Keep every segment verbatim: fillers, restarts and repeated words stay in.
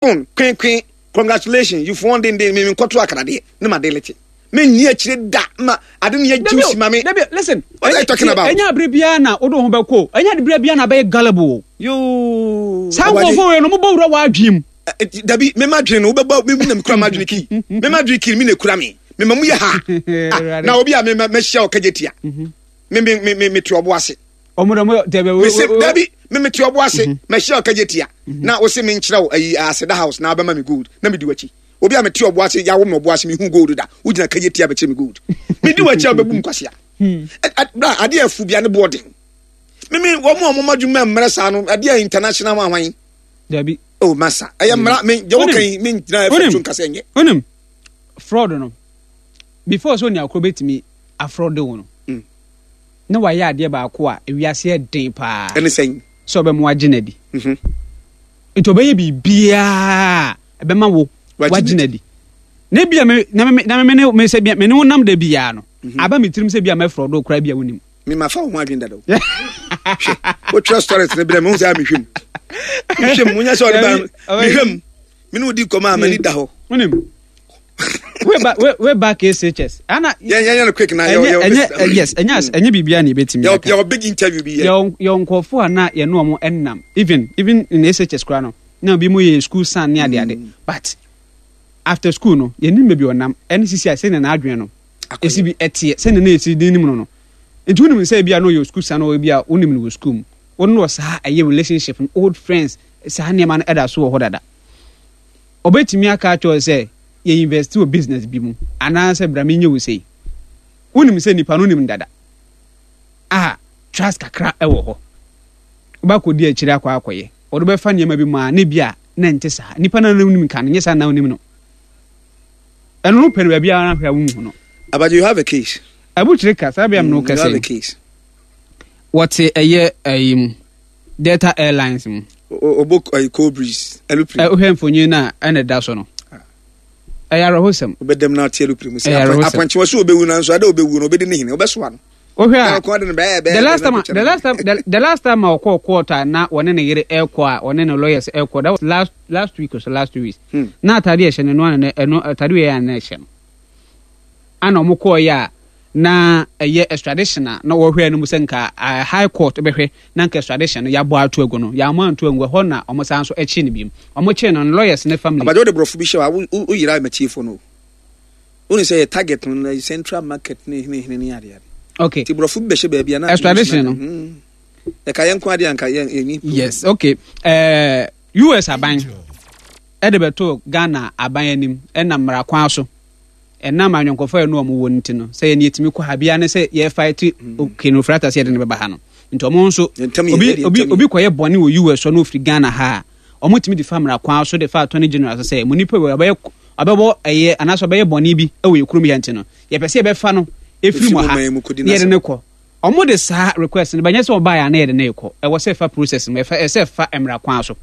Phone kwenkwen, congratulations, you've won den den. Me nkɔto akradeɛ ne ma delete. Me nni akyire da ma ade ne yɛ juicy ma me. Dabi, listen. What are you talking about? Ɛnyɛ abere biara na wode wo ho bɛkɔ, ɛnyɛ abere biara na bɛyɛ gullible o. Yoo. Saa nkurɔfoɔ wei no, mobɔ wura wɔ adwene mu. Dabi, me ma dwene no wobɛbɔ me na mekura ma adwene kii, me ma dwene kii, me na ekura me me ma mu yɛ ha. Ah, na obi a me ma mahyia wɔ kagye tia me me me me me te ɔbo ase. Ɔmo dɛ ɔmo dɛbɛ wo. Mese dabi, me me te ɔbo ase, mahyia wɔ kagye tia na wose me nkyerɛ wo ayi aseda house na abɛma me gold na me di w'akyi. Obi a mete ɔbo ase, yawo me ɔbo ase, mehu gold da, wogyina kagye tia bɛkyerɛ me gold, me di w'akyi a wobɛbu me kwasea. Bra, adeɛ afu bia ne boɔden. Me me wɔn a wɔn adwuma mmerɛ saa no, adeɛ international ho ahwan. Dabi. Oh masa, ɛyɛ mmara me deɛ wɔka yi, me ngyina ɛfɛ so nkasa nyɛ. Onim fraud no, before sɛ onua koro bɛtumi afraud wo no, mm. na wayɛ adeɛ baako a ewiase yɛ den paa. Ɛne sɛn? Sɛ ɔbɛmo agye n'adi. Mhm. Nti ɔbɛyɛ biribiara ɛbɛma wo wagye n'adi. Na ebia me na me na me ne me sɛ me ne wo nam da biara no, mhm. aba me tirim sɛ bia mɛfraud wo koraa bia wonim. Me ma fa wo ho adwene dada o. Hwɛ, wotwerɛ stories no berɛ me ho sɛ mehwɛ mu, mehwɛ mu, wonya sɛ ɔde ba mehwɛ mu, me ne wodi kɔm a m'ani da hɔ. Wonim way back way, way back S H S ana yɛn yɛn no quick na yɛ yɛ ɛnyɛ, yes, ɛnyɛ ɛnyɛ biribiara na ebetumi aka. Yɛ big interview bi yɛ. Yɛ yɛ nkurɔfoɔ a na yɛne wɔn ɛnam, even even in S H S koraa no, na obi mu yɛ school son ne ade ade, mm. but after school no, yɛnim baabi ɔnam ɛne sisi a sɛnea n'adwene no esi bi ɛteɛ, sɛnea na esi de nim no no Nti wonim sɛ ebi a na ɔyɛ school son, ɔyɛ bi a wonim no wɔ school mu, wɔn no wɔ saa ɛyɛ relationship no, old friends, saa nneɛma no ɛda so wɔ hɔ dada. Ɔbɛtumi aka akyerɛ sɛ yɛ invest wɔ business bi mu anaasɛ bra menyɛ wo sei. Wonim sɛ nipa no nim dada a trust kakra ɛwɔ hɔ, wobɛkɔdi akyire akɔ akɔyɛ, ɔde bɛfa nneɛma bi mu a ne bi a na nte saa. Nipa no wonim ka no nyɛ saa na wonim no, ɛno no pɛ no baabi a ahwɛ a wonhu no. Abagye, you have a case. Abukyire ka saa bia no mm, you have a case. Wɔte ɛyɛ ɛyi mu, Delta Airlines mu. Obo ɛyi cold breeze aeroplane. Ɛ wohwɛ mfonyin no a ɛna ɛda so no, ɛyɛ awerɛhosɛm. Wobɛdɛm na ate aeroplane mu sɛ apɔnkye wɔ so obɛwu, nanso ada obɛwu no, obɛdi ne hene, wobɛsoa no. Wohwɛ a, the last time the last time the, the last time a ɔkɔɔ court a na wɔne ne yere ɛkɔ a wɔne ne lawyers ɛkɔ, that was last last week or so, last two weeks hmm. Na atade ɛhyɛ no no ana ɛno atade wei ana ɛhyɛ no ana ɔmo kɔɔ yɛ a na ɛyɛ extradition a na wɔhwɛ no mu sɛ nka High Court bɛhwɛ na nka extradition no yɛabɔ ato agu no, yɛamɔ anto agu ɛhɔ na ɔmo san so ɛkye no biom, ɔmo kye no no lawyers ne family. Abagye, wode borɔfo bi hyɛ wa woyera matiefo no. Wone sɛ yɛ target no na central market ne hene hene ne adeade. Okay. Nti borɔfo bi bɛhyɛ baabi a na extradition no ɛka yɛn nko adeɛ anka yɛn yɛni. Yes, okay. uh, U S aban ɛde bɛto Ghana aban anim, ɛnam mmara kwan so, ɛnam anyɔnkɔfo a ɛno ɔmo wɔ no ti no sɛ yɛn yɛtumi kɔ ha bia ne sɛ yɛfa ti Ken Ofori-Atta sɛ yɛde no bɛba ha no. Nti ɔmo nso obi obi obi kɔyɛ bɔne wɔ U S no, ofiri Ghana ha a, ɔmo tumi de fa mmara kwan so de fa Attorney General so sɛ mo nipa wɔ ɔbɛyɛ ɔbɛbɔ ɛyɛ anaasɛ ɔbɛyɛ bɔne bi wɔ yɛ kurom yɛ, nti no yɛpɛ sɛ yɛbɛfa no efiri mu ha na yɛde ne kɔ. Ɔmo de saa request no bɛnyɛ sɛ ɔbaa yɛ ana yɛde ne kɔ, ɛwɔ sɛ ɛfa process mu, ɛfa ɛsɛ ɛfa mmara kwan so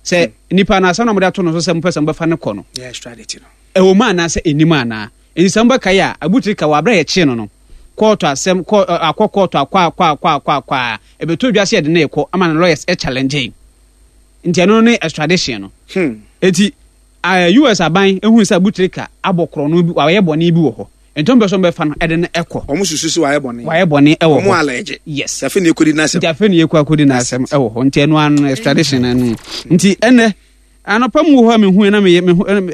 sɛ nipa no asɛm na mo de ato no so sɛ mo pɛ sɛ mo bɛfa ne kɔ no, ɛwɔ mu anaasɛ ɛnim anaa. Nti sɛ mobɛka yi a, abutiri ka wɔ abere a yɛkyee no no kɔɔto asɛm kɔ akɔ kɔɔto akɔ akɔ akɔ akɔ akɔ a ɛbɛtɔ dwa sɛ yɛde ne kɔ ama no, lawyers challenge, nti ɛno ne extradition no hmm. Eti U S aban ehun sɛ Abutirika abɔ korɔ bi, wayɛ bɔne bi wɔ hɔ, nti wɔn bɛ so bɛfa no ɛde no ɛkɔ. Wɔn susu sɛ wayɛ bɔne. Wayɛ bɔne ɛwɔ hɔ. Wɔn alɛgye. Yes. Afei na ekodi n'asɛm. Nti afei na ekɔ akodi n'asɛm ɛwɔ hɔ, nti ɛno ano extradition ɛno. Nti ɛnɛ anɔpa mu wɔ hɔ a mehu na meyɛ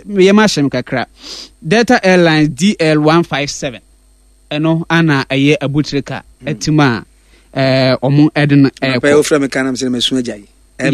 meyɛ ma ahyɛm kakra. Delta Airlines D L one five seven ɛno ana ɛyɛ Abutirika ɛtim a ɛɛ ɔmo ɛde no ɛkɔ. Anɔpa yi ofura mi kan na mi sɛ mɛ sun agya yi.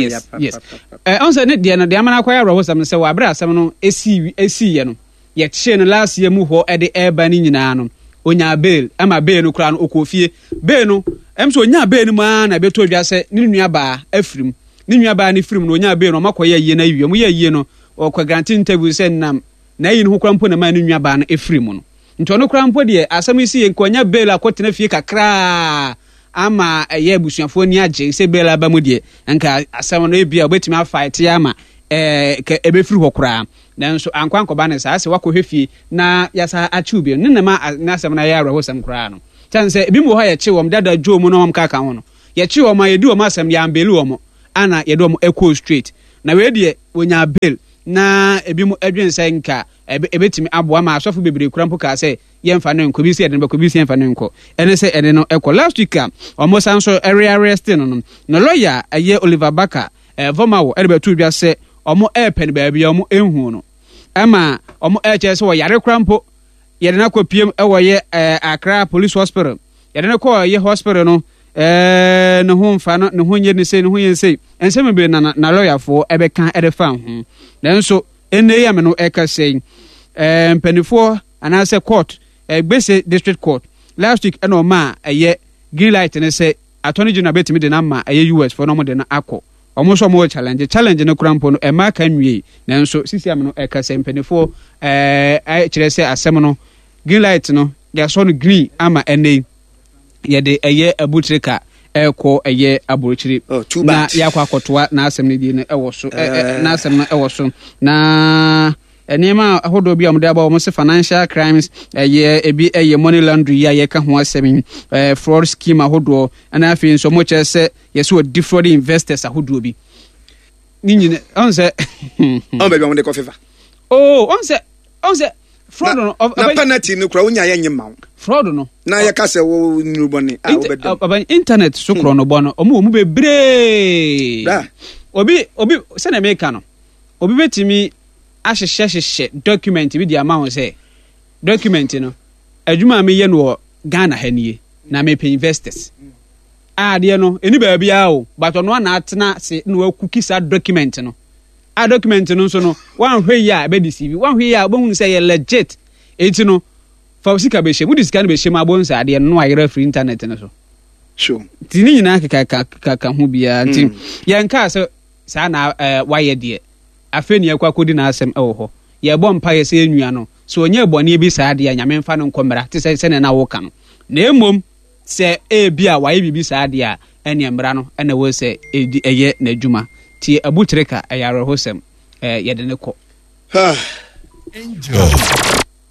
yes yes ɛ ɔn sɛ ne deɛ no deɛ amana akɔyɛ awerɛhosɛm no sɛ wɔ abere asɛm no esi esi yɛ no, yɛkyee no last year mu hɔ ɛde ɛreba ne nyinaa no, onyaa bail, ɛma bail no koraa no okɔ fie. Bail no ɛm sɛ onyaa bail no mu ara na ɛbɛtɔ dwa sɛ ne nua baa afiri mu. Ne nua baa ne firi mu no, onyaa bail no, ɔmo akɔyɛ ayie no awie. Ɔmo yɛ ayie no, ɔkɔ grant interview sɛ nam na ayi no ho koraa mpo na maa ne nua baa no efiri mu no. Nti ɔno koraa mpo deɛ, asɛm yi si yɛ nka ɔnya bail akɔtena fie kakraa ama ɛyɛ abusuafoɔ ani agye sɛ bail aba mu deɛ, nka asɛm no ebia obetumi afa ɛte ama ɛɛ kɛ ɛbɛfiri hɔ koraa. Nanso ankɔ ankɔba ne saa sɛ wakɔhwɛ fie na yasa akyew bi ne nama n'asɛm no ayɛ awerɛhosɛm koraa no kyɛn sɛ ebi mu wɔ hɔ a yɛkye wɔn dada dwo mu na wɔn kaka ho no, yɛkye wɔn a yɛdi wɔn asɛm, yɛambail wɔn ana yɛde wɔn ɛkɔɔ straight. Na wei deɛ wɔnya bail na ebi mu adwene sɛ nka ɛbɛtumi aboa ma asɔfo bebree kura mpo kaa sɛ yɛmfa no nkɔ, bi sɛ yɛde no bɛkɔ, bi sɛ yɛmfa no nkɔ. Ɛne sɛ ɛde no ɛkɔ last week a ɔmo san so ɛrearrest no no na lawyer ɛyɛ Oliver Barker ɛɛ Vormawor ɛde bɛto dwa sɛ ɔmo ɛɛpɛ no baabi a ɔmo ɛnhu no, ɛma ɔmo ɛkyerɛ sɛ wɔyare kora mpo. Yɛde no akɔ piem ɛwɔ yɛ ɛɛ Accra Police Hospital. Yɛde no kɔɔ yɛ hospital no, ɛɛ ne ho mfa no, ne ho nyɛ ne sei, ne ho yɛ ne sei. Nsɛm bebree na na lɔyafoɔ ɛbɛka ɛde fa ho. Nanso ɛnɛ yi ame no ɛka sɛ ɛɛ mpanimfoɔ anaasɛ court, ɛɛ Gbese District Court, last week ɛna ɔma a ɛyɛ green light ne sɛ Attorney General bɛtumi de no ama ɛyɛ U S foɔ na ɔmo de no akɔ. Ɔmo nso ɔmo wɔ challenge challenge no kora mpo no ɛma aka nwie. Nanso sisi ame no ɛka sɛ mpanimfoɔ ɛɛ ɛkyerɛ sɛ asɛm no, green light no, yɛasɔ no green ama ɛnɛ yi yɛde ɛyɛ Abu Trica ɛkɔ ɛyɛ aburokyire. Oh, too na bad. Yɛakɔ akɔtoa n'asɛm no die no ɛwɔ so, ɛ ɛ n'asɛm no ɛwɔ so. Na nneɛma ahodoɔ bi a wɔde aba wɔn sɛ financial crimes, ɛyɛ ebi ɛyɛ money laundry yi a yɛka ho asɛm yi, ɛɛ fraud scheme ahodoɔ, ɛna afei nso wɔn kyerɛ sɛ yɛsɛ wɔ defraud investors ahodoɔ bi ne nyina ɔn sɛ Ɔn baabi a wɔde kɔ fefa. Oo, ɔn sɛ ɔn sɛ fraud no ɔ- na ɔbɛ- penalty no kura wonya yɛ nye ma wo. Fraud no Na yɛka sɛ wo nuru bɔne a Inter- wobɛdam. ɔbɛn internet so korɔ no bɔ no, ɔmo wɔ mu bebree. Bra. Obi obi sɛnea meka no, obi bɛtumi ahyehyɛ hyehyɛ document bi de ama wo sɛ document no, adwuma a meyɛ no wɔ Ghana ha nie na mepɛ investors a adeɛ no ɛni baabiara o, but ɔno ana atena se na wakuki saa document no a document no nso no, wanhwɛ yi a ɛbɛdi C V, wanhwɛ yi a wobɛhunu sɛ yɛ legit. Enti no fa wo sika bɛhyɛ mu, wode sika no bɛhyɛ mu abɔ nsa adeɛ no na wayerɛ afiri internet no so. Sure. Nti ne nyinaa kekakeka ho biara nti yɛnkaa sɛ saa na ɛɛ wayɛ deɛ. Afei ne yɛkɔ akɔdi n'asɛm ɛwɔ hɔ. Yɛbɔ mpa yɛ sɛ yɛnua no sɛ ɔnyɛ bɔne bi saa deɛ a, Nyame mfa no nkɔ mmara te sɛ sɛnea na woka no. Na mmom sɛ ebi a wayɛ biribi saa deɛ a, ɛneɛ mmara no ɛna ɛwɔ sɛ ɛdi ɛyɛ n'adwuma. Nti Abu Trica, ɛyɛ awerɛhosɛm, ɛɛ yɛde ne kɔ. Angel.